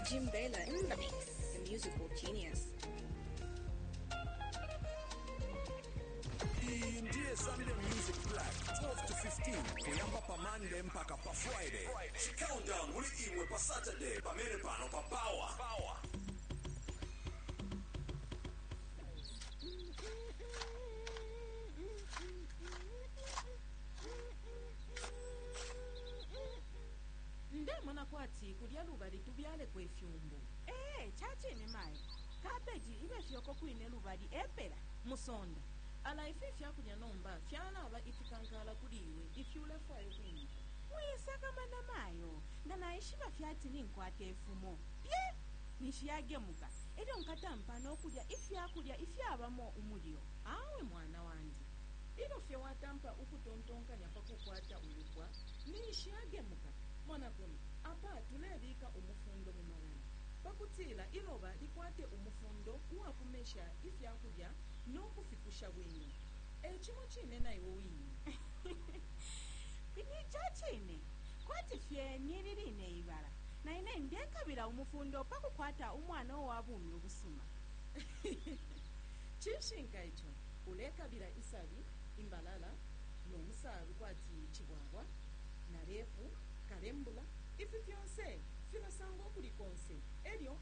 Jim Bella in the mix, the musical genius. Iyi ndiye Sunday Music Black 12 to 15, kuyamba pa Monday mpaka pa Friday. Countdown muli imwe pa Saturday pamene pano pa Power. Ndemona kwati kulya lubali tubyaleko ifyumbu. Ee, chachine mayi, kabeji ibe fyoko kwine lubali epela. Musonda ala ifi ifyakulya nomba fyalaba ifikankala kuli iwe ifi ulefwaya ukwinika. Mwisakamana mayo, nga naishiba fyati ninkwata ifumo pye nishiyagemuka, elyo nkatampa nokulya ifyakulya ifyabamo umulyo. Awe mwana wandi, ilyo fye watampa ukutontonkanya pa kukwata ulupwa ninshi yagemuka. Mona kuno apa tulebika umufundo mu malala pakutila iloba likwate umufundo uwakumesha ifyakulya nokufikusha bwino. E cimo cine na iwe wine. Ni chachine kwati fye nili line ibala, na ine ndekabila umufundo pakukwata umwana uwa bumi ubusuma. Cishinka ico ulekabila isabi, imbalala nomusalu kwati cibwabwa na repu kalembula. Ifi fyonse filasangwa ukuli konse, elyo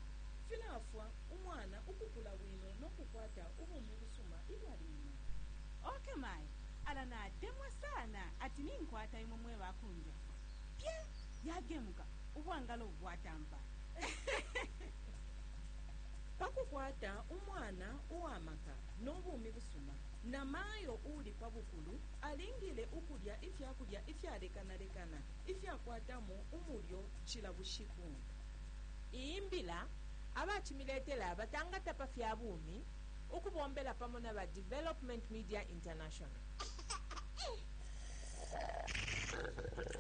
filafwa umwana ukukula bwino nokukwata ubumi busuma ilyo ali mumala. Okay mayi, ala natemwa sana ati ninkwata imwe mwe bakunjafwa. Pye yagemuka, ubwangalo bwatampa. Pakukwata umwana uwamaka nobumi busuma, na mayo uli pa bukulu alingile ukulya ifyakulya ifyalekanalekana ifyakwatamo umulyo cila bushiku. Iyi mbila abacimiletela batangata pa fya bumi ukubombela pamo na ba Development Media International.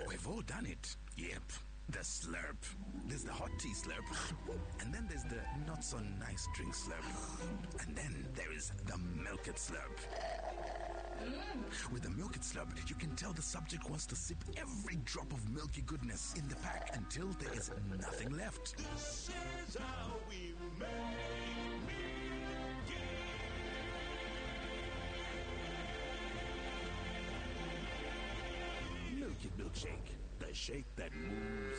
We've all done it. Yep. The slurp. There's the hot tea slurp. And then there's the not so nice drink slurp. And then there is the milk it slurp. With the milk it slurp, you can tell the subject wants to sip every drop of milky goodness in the pack until there is nothing left. This is how we make Milky Milkshake. The shake that moves.